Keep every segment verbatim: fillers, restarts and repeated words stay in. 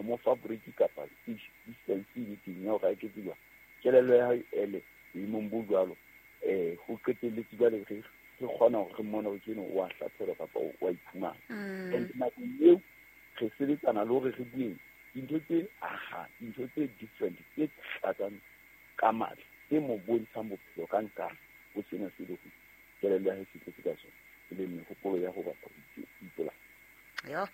ho mo fa break kapa distance e teng ya hore a eketse jwang kelello ya hae ele boemong bo jwalo um ho qetelletse jwale re re kgona hore re mmone hore ke eno o a hlatshelwa kapa o a iphumana. Mm. And nakong eo re sebetsana le hore re bueng dintho tse aha, dintho tse different tse tlatsang ka matla, tse mo bontshang bophelo ka nkang ho sena se le ho kelello ya hae se tletse ka sona, e leng mehopolo ya ho batla ho ipolaya. Yo.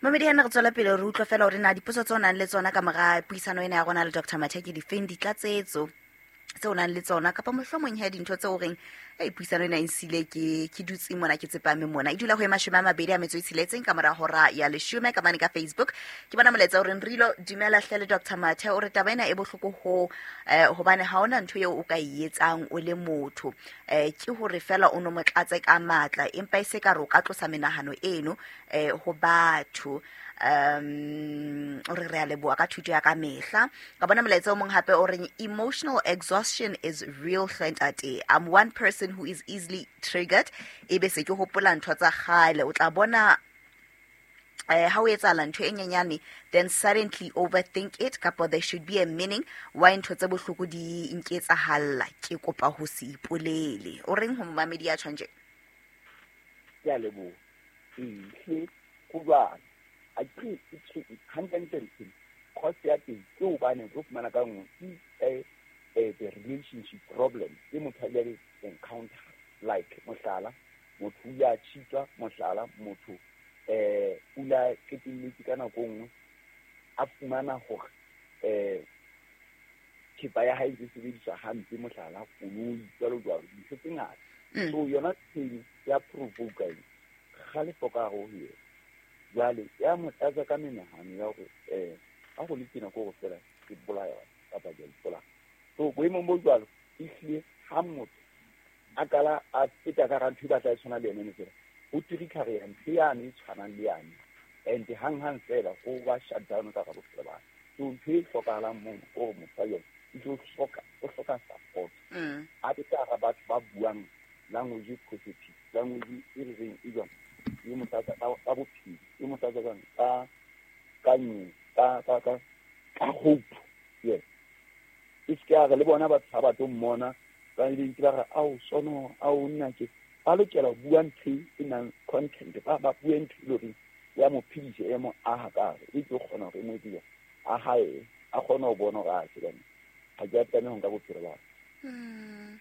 Mamedi hana re tswela pele re utlwa fela hore na dipotso tse o nang le tsona ka mora puisano ena ya rona le Doctor Mathe ke difeng, ditlatsetso tse o nang le tsona kapa mohlomong he dintho tse o reng ei puisano ena e nsile ke ke dutse mona ke tsepame mona. E dula ho e mashome a mabedi a metso e tsheletseng ka mora hora ya leshome ka mane ka Facebook. Ke bona molaetsa o reng Rilo dumela hle le Doctor Mathe, o re taba ena e bohloko ho eh, hobane ha hona ntho eo o ka e etsang o le motho, eh, ke hore fela o no mo tlatse ka matla, empa e se ka re o ka tlosa menahano eno eh, ho batho. Um o re re a leboha ka thuto ya ka mehla. Ka bona molaetsa o mong hape o reng emotional exhaustion is real hle ntate. I'm one person who is easily triggered, ebe se ke hopola ntho tsa kgale. O tla bona eh, ha o etsahala ntho e nyenyane, then suddenly overthink it, kapa there should be a meaning why ntho tse bohloko di nketsahalla. Ke kopa ho se ipolele. O reng ho momamedi ya tjhong tje? Ke a leboha. Ee, hle, ho jwalo. A ke hantle-ntle ntho cause ya teng ke hobane o tlo fumana ka nngwe ke, eh, eh, the relationship problem e motho a ile encounter, like mohlala motho o ile a cheatwa, mohlala motho eh o ile a qetelletse ka nako e nngwe a fumana hore eh thepa ya hae e sebediswa hampe, mohlala koloi jwalo jwalo, dintho tse ngata. Mm. So yona pain ya provoke eng kgalefo ka hare ho yena. Jwale ya mo tlatsa ka menahano ya hore eh ha ho le tjena ke hore fela ke bolaya kapa ke a ipolaya. So boemong bo jwalo ehlile ha motho a qala a feta ka hara ntho e batla e tshwana le yena eno fela, ho trigger-a ntho yane e tshwanang le yane, and hang-hang fela ho ba shut down ka hara bophelo ba hae. So ntho e hlokahalang mono ke hore motho wa yona e tlo hloka, o hloka support. Mm. A be ka hara batho ba buang language e positive, language e re reng e jwang, e mo tlatsa ka, ka bophelo, e mo tlatsa ka, ka, ka nyo, ka, ka, ka, ka hope. Yes. E se ke ya re le bona batho ha ba tlo mmona, ba ile ntse ba re, ao, sono, ao, nna ke. Ba lokela ho bua ntho e nang content, ba, ba bue ntho e leng hore ya mo phedisa, ya mo aha ka hare, e tlo kgona hore e mo etse jwang, a hae, a kgone ho bona hore a tjhe, ha ke a tlameha ho nka bophelo ba hae. Mm.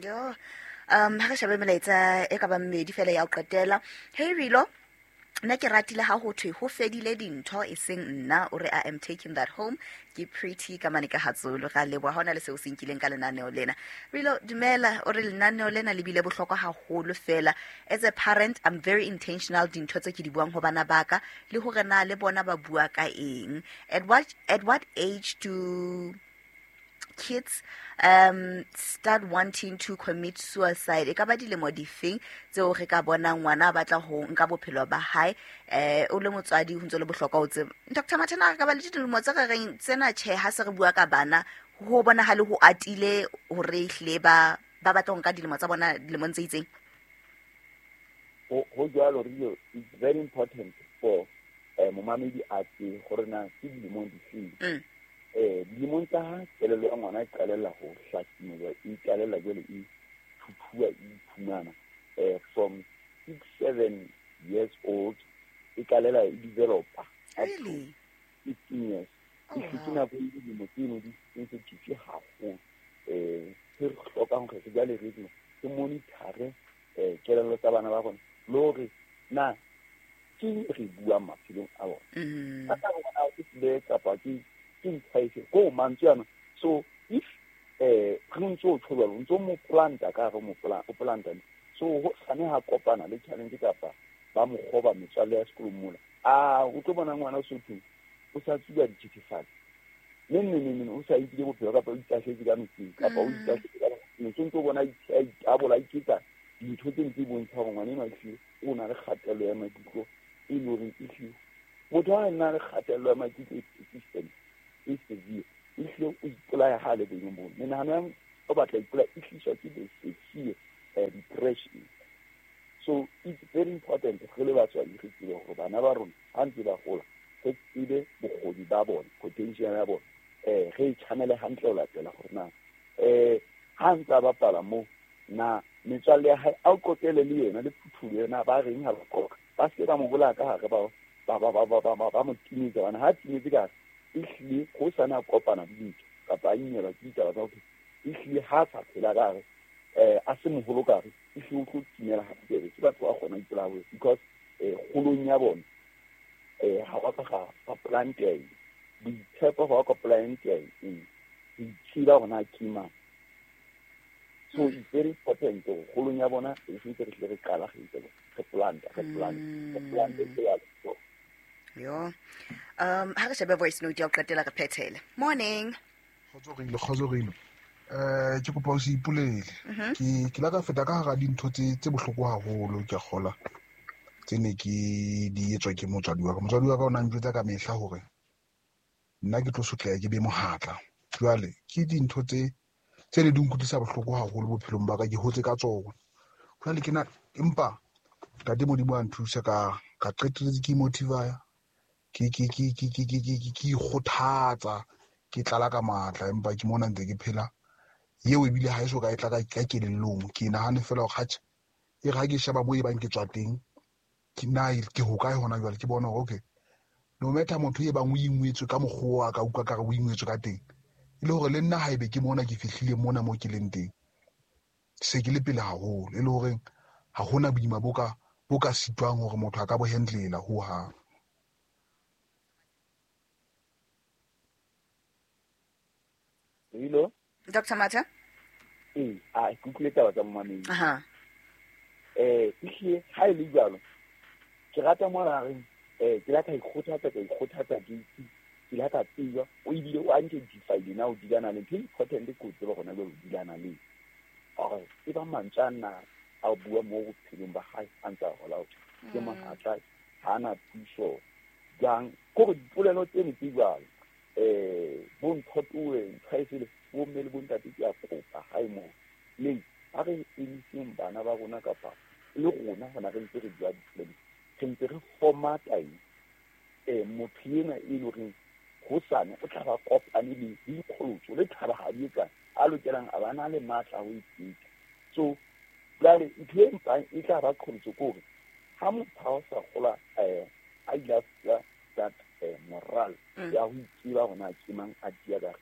Yo. Um, ha re shebe melaetsa e ka bang mmedi fela ya ho qetela. Hey Rilo, nna ke ratile ha ho thwe ho fedile dintho e seng nna, o re I am taking that home. Ke Pretty ka mane ka Hatsolo. Ra leboha ha hona le seo se nkileng ka lenaneo lena. Rilo dumela, o re lenaneo lena le bile bohlokwa haholo fela. As a parent, I'm very intentional dintho tse ke di buang ho bana ba ka le hore na le bona ba bua ka eng. At what, at what age do kids um start wanting to commit suicide? E ka ba dilemo difeng tseo re ka bonang ngwana a batla ho nka bophelo ba hae? Eh, o le motswadi ho ntse le bohlokwa ho tseba. Doctor Mathe, na re ka ba le dilemo tse re reng tsena tjhe ha se re bua ka bana ho bonahale ho atile hore ehlile ba, ba batla ho nka dilemo tsa bona dilemong tse itseng? Ho, ho jwalo, Rio, it's very important for eh, momamedi a tsebe hore na ke dilemong difeng. Mm. Eh, dilemong tsa ha kelello ya ngwana e qalella ho hlasimolwa, e qalella jwale e thuthuwa, e iphumana. Eh, from six, seven years old, e qalela e developa up to Really? fifteen years. Oh, E hlile wow. nako e dilemo tseno di sensitive haholo. Eh, se re hlokang hore re jwale re etse, re monitor-e, eh, kelello tsa bana ba rona, le hore na ke eng re buang maphelong a bona. Mm. Ka taba ya ke tlile kapa ke, ke ntlha efe, ko mantswe ana. So if, eh, re ntse o tjho jwalo, o ntso mo planta ka hare, o mo pla-, o planta. So ho sane ha kopana le challenge kapa ba mo kgoba metswalle ya sekolong mola, ah, o tlo bona ngwana o so thweng, o sa tsuba dithethefatsi. Neng, neng, neng, neng, o sa ipile bophelo kapa o itahletse ka metsing, kapa o Mm. itahletse ka metsing. So ntso bona a itabola, a iketsa dintho tse ntse bontsha hore ngwana enwa ehlile o na le kgatello ya maikutlo e leng hore ehlile motho ha a na le kgatello ya maikutlo e persistent, e severe, ehlile o ipolaya ha a le boemong boo. Menahano ya o batla ipolaya e tliswa ke the severe, eh, depression. So it's very important re le batswadi re tsebe hore bana ba rona ha ntse ba hola, re tsebe bokgoni Bokgoni ba bona, potential ya bona, um re e channele hantle ho latela hore na um ha ntse a bapala mo na metswalle ya hae a o qoqele le yena le phuthulo yena ba reng ha ba qoqa, ba se ba mo bolaya ka hare, ba ba ba ba ba ba ba mo timetsa. Bana ha timetse ka hare, ehlile ho sana kopana le dintho kapa a imelwa ke ditaba tsa bophelo, ehlile ha sa phela ka hare, um a se moholo ka hare, ehlile o tlo timela habobebe. Ke batho ba kgona ho ipolaya because um kgolong ya bona um ha wa ka ga ga planteng boitshepo, ga wa ka planteng ho itshiba hore na ke mang. So it's very important hore kgolong ya bona e sentse re hle re qala re itse re planta re planta re planta e ya so. Yo. Um ha re shebe voice note ya ho qetela re phethele. Morning. Kgotso re ile, kgotso re ile. Eh ke kopa o se ipolele. Ke ke la ka feta ka hara dintho tse tse bohloko haholo, ke a kgola. Tse ne ke di etswa ke motswadi wa ka. Motswadi wa ka o na njwetsa ka mehla hore nna ke tlo sotleha ke be mohatla. Jwale ke dintho tse tse ne di nkutlwisa bohloko haholo bophelong ba ka, ke hotse ka tsona. Jwale ke na empa Ntate Modimo a nthusa ka ka qetelletse ke motivaya, ke ke ke ke ke ke ke ke ikgothatsa, ke tlala ka matla, empa ke mona ntse ke phela. Eo ebile ha eso ka e tla ka ka kelellong, ke nahane fela hore atjhe, e re ha ke sheba moo e bang ke tswa teng, ke na ke hokae hona jwale, ke bona hore okay, no matter motho e bang o ingwetswe ka mokgwa wa ka utlwa ka re o ingwetswe ka teng, e le hore le nna haebe ke mona ke fihlile mona mo ke leng teng, se ke le pele haholo, e le hore ha hona boima bo ka bo ka sitwang hore motho a ka bo handlela ho hang. Hello? Doctor Mathe? Ee, a ke utlwile taba tsa momamedi. Aha. Eh, ehlile ha e le jwalo, ke rata mo a reng, eh, ke la ka ikgothatsa, ka ikgothatsa ke itse, ke la ka tseba, o ebile o identify-ile na o dulana le ntho e important ke o tseba hona jwale o dulana le. Hore e ba mantswe a na a bua mo bophelong ba hae a ntse a hola hore ke mohatla, ha ana thuso jwang. Ke hore dipolelo tseno tse jwalo, eh, bo ntho towe, ntho e sele, bo mme le bo ntate ke a kopa hae moo. Le ha re emiseng bana ba rona kapa le rona hona re ntse re bua dipolelo, re ntse re formata eng, eh, motho ena e leng horeng hosane o tla ba kopane le dikgolotso le thabahadi e kang a lokelang a ba na le matla a ho ipetsa. So jwale ntho e mpang e tla ba qholotso ke hore ha motho ha o sa gola, eh, a ile a fuwa that, eh, moral ya ho itseba hore na ke mang a tia ka hare.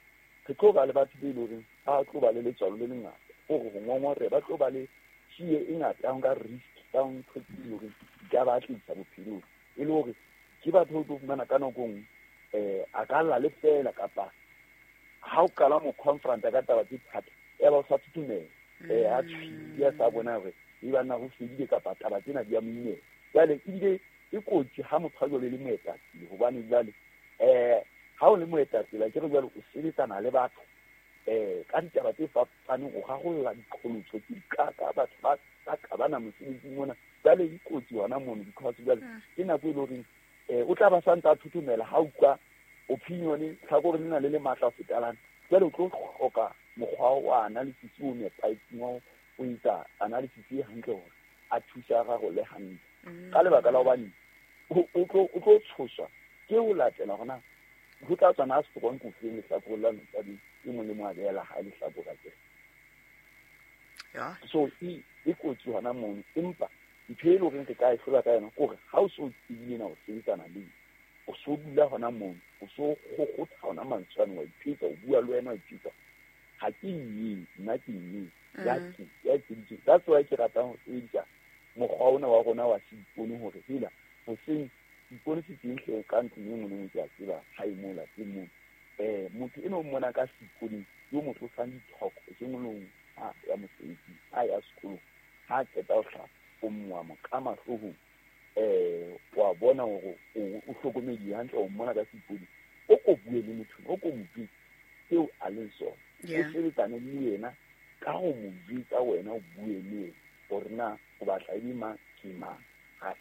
Re tlo ba le batho be leng horeng ba tlo ba le letswalo le lengata, hore ho ngongoreha, ba tlo ba le tjie e ngata ya ho nka risk, ya ho ntho tse leng hore di ka ba tlisa bophelong. E le hore ke batho o tlo fumana ka nako e nngwe, eh, a ka lla le fela kapa ha o qala mo confront-a ka taba tse thata, ya ba o sa thothomela, eh, a tshwile, a sa bona hore e banna ho fedile kapa taba tsena di a mo imela. Jwale ebile e kotsi ha motho a jwale le moetapele, hobane jwale, eh, ha o le moetapele, ke re jwale o sebetsana le batho, eh, ka ditaba tse fapaneng, o rarolla diqholotso tse dikaka, batho ba ba qabana mosebetsing mona. Jwale e kotsi hona mono, because jwale ke nako e leng horeng, eh, o tla ba sa ntse a thothomela ha utlwa opinion tlhakore lena le le matla ho feta lana. Jwale o tlo hloka mokgwa wa analysis o nepahetseng wa ho etsa analysis e hantle hore a thuse a rarolle hantle. Ka lebaka la hobane o, o tlo, o tlo tshoswa ke ho latela hore na ho tla tswa na strong ko feng lehlakoreng la motswadi e mong le mong a beela hae lehlakore akere. Ya. So e, e kotsi hona mono, empa ntho e leng hore re ka e hlola ka yona ke hore ha o so tsebile na o sebetsana le eng, o so dula hona mono, o so kgokgotha hona mantswe ano, wa iphetsa, o bua le wena, wa iphetsa. Ha ke eng, nna ke eng, ya Mm. ke, ya ke. That's why ke ratang ho sebedisa mokgwa ona wa rona wa seipone hore hela hoseng seipone se teng hle ka ntlong e nngwe le nngwe, ke a tseba ha e moo lapeng moo. Eh, motho eno o mmona ka seiponeng, yo mo tlosang dithoko eseng o le mong, ha ya mosebetsing, ha ya sekolong, ha qeta ho hlapa, o moa mo ka mahloohong, eh, wa bona hore o, o hlokomedile hantle, o mmona ka seipone. O ko bue le motho, o ko mo jwetse seo a leng sona. O Yeah. sebetsane le yena ka ho mo jwetsa wena, o bue le yena hore na o batla e be mang, ke mang.